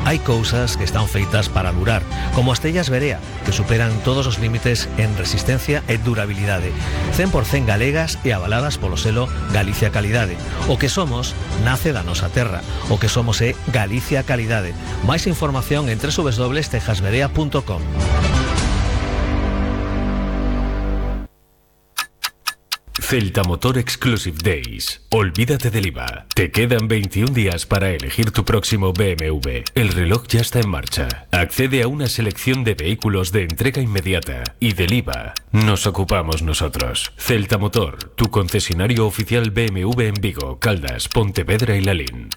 Hai cousas que están feitas para durar, como as tellas Berea, que superan todos os límites en resistencia e durabilidade, 100% galegas e avaladas polo selo Galicia Calidade. O que somos nace da nosa terra, o que somos é Galicia Calidade. Máis información en www.tejasberea.com. Celta Motor Exclusive Days. Olvídate del IVA. Te quedan 21 días para elegir tu próximo BMW. El reloj ya está en marcha. Accede a una selección de vehículos de entrega inmediata. Y del IVA nos ocupamos nosotros. Celta Motor, tu concesionario oficial BMW en Vigo, Caldas, Pontevedra y Lalín.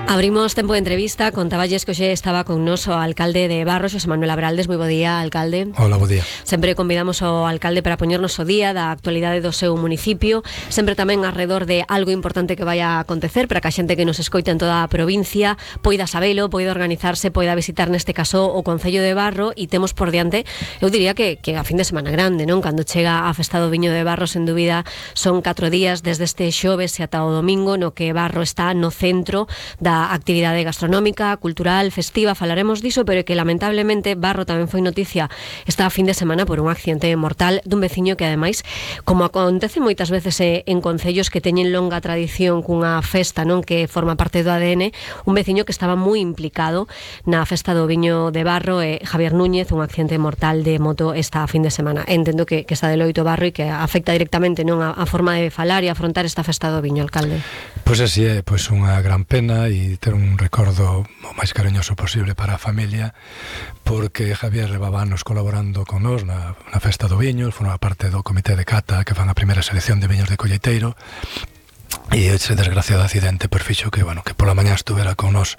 Abrimos tempo de entrevista. Contaballes que hoxe estaba con nos o alcalde de Barro, Xosé Manuel Abraldes. Moi bo día, alcalde. Hola, bo día. Sempre convidamos ao alcalde para poñernos o día da actualidade do seu municipio, sempre tamén alrededor de algo importante que vai a acontecer para que a xente que nos escoita en toda a provincia poida sabelo, poida organizarse, poida visitar neste caso o Concello de Barro. E temos por diante, eu diría que a fin de semana grande, non? Cando chega a festa do Viño de Barro, sen dúbida, son 4 días desde este xoves e ata o domingo, no que Barro está no centro da actividade gastronómica, cultural, festiva. Falaremos diso, pero que lamentablemente Barro tamén foi noticia esta fin de semana por un accidente mortal dun veciño que ademais, como acontece moitas veces en concellos que teñen longa tradición cunha festa, non, que forma parte do ADN, un veciño que estaba moi implicado na festa do Viño de Barro, Javier Núñez, un accidente mortal de moto esta fin de semana. Entendo que está de loito Barro e que afecta directamente, non, a forma de falar e afrontar esta festa do Viño, alcalde. Pois así é, pois unha gran pena e ter un recordo o máis cariñoso posible para a familia, porque Javier levaba anos colaborando con nós na festa do Viño, formaba parte do comité de cata que fan a primeira selección de viños de colleiteiro. E ese desgraciado accidente pois fixo que, bueno, que pola mañá estuvera con nós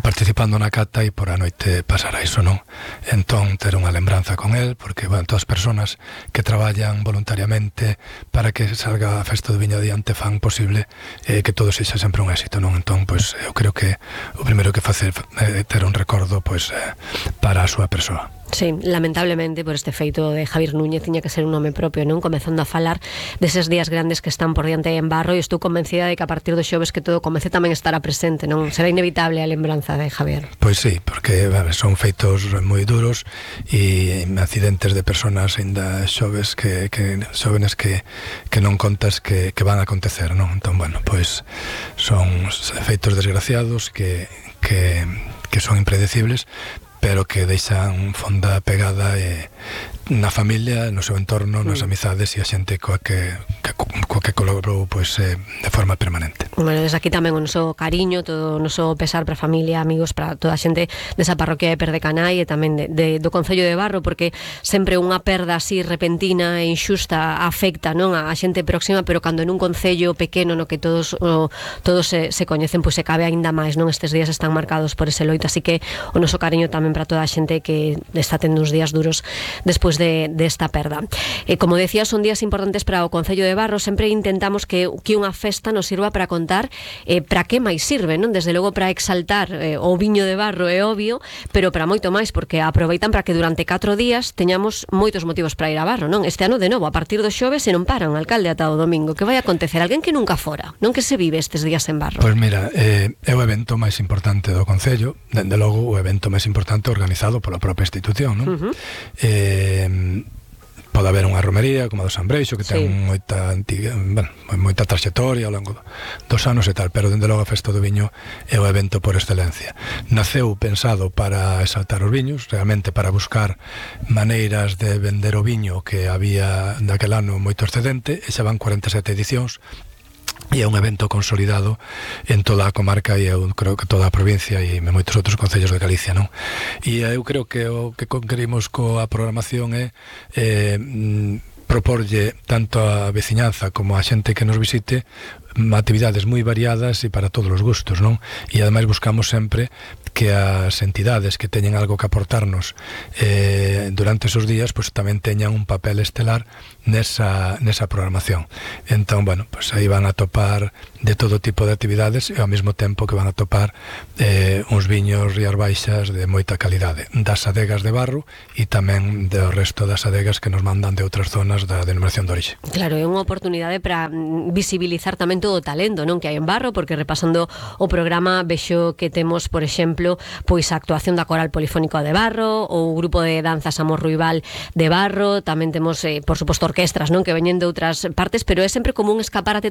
participando na cata e por a noite pasara iso, non? Entón, ter unha lembranza con el, porque, bueno, todas as persoas que traballan voluntariamente para que salga a festa do Viño adiante fan posible que todo sexa sempre un éxito, non? Entón, pois, eu creo que o primeiro que facer é ter un recordo, pois, para a súa persoa. Sí, lamentablemente por este feito de Javier Núñez tiña que ser un nome propio, non? Comezando a falar deses días grandes que están por diante en Barro, e estou convencida de que a partir do xoves que todo comece tamén estará presente, non? Será inevitable a lembranza de Javier. Pois sí, porque son feitos moi duros e accidentes de persoas ainda xoves xóvenes que non contas que van a acontecer, non? Entón, bueno, pois son feitos desgraciados que son impredecibles, pero que deixan fonda pegada na familia, no seu entorno, nas amizades e a xente coa que colaborou pois, de forma permanente. Bueno, desde aquí tamén o noso cariño, todo o noso pesar para a familia, amigos, para toda a xente desa parroquia de Perdecanai e tamén do Concello de Barro, porque sempre unha perda así repentina e inxusta afecta, non, a xente próxima, pero cando nun concello pequeno no que todos se coñecen, pois se cabe aínda máis, non? Estes días están marcados por ese loito, así que o noso cariño tamén para toda a xente que está tendo uns días duros despois desta perda. Como decía, son días importantes para o Concello de Barro. Sempre intentamos que unha festa nos sirva para contar para que máis sirve, non? Desde logo para exaltar o Viño de Barro, é obvio, pero para moito máis, porque aproveitan para que durante 4 días teñamos moitos motivos para ir a Barro, non? Este ano, de novo, a partir do xoves se non paran, alcalde, ata o domingo. Que vai acontecer? Alguén que nunca fora, non? Que se vive estes días en Barro? Pois mira, é o evento máis importante do Concello, dende logo o evento máis importante organizado pola propia institución, non? Pode haber unha romería como a do San Breixo, que ten moita traxectoria ao longo dos anos e tal, pero dende logo a festa do viño é o evento por excelencia. Naceu pensado para exaltar os viños, realmente para buscar maneiras de vender o viño, que había daquel ano moito excedente, e xa van 47 edicións, e é un evento consolidado en toda a comarca e eu creo que toda a provincia e moitos outros concellos de Galicia, non? E eu creo que o que queremos coa programación é proporlle tanto a veciñanza como a xente que nos visite actividades moi variadas e para todos os gustos, non? E ademais buscamos sempre que as entidades que teñen algo que aportarnos durante esos días, pues tamén teñan un papel estelar nesa programación. Entón, bueno, pues aí van a topar de todo tipo de actividades e ao mesmo tempo que van a topar uns viños Rías Baixas de moita calidade, das adegas de Barro e tamén do resto das adegas que nos mandan de outras zonas zonas da denominación de orixe. Claro, é unha oportunidade para visibilizar tamén todo o talento, non, que hai en Barro, porque repasando o programa vexo que temos, por exemplo, pois a actuación da Coral Polifónico de Barro, ou o grupo de danzas Amor Ruibal de Barro, tamén temos, por suposto, orquestras, non, que veñen de outras partes, pero é sempre como un escaparate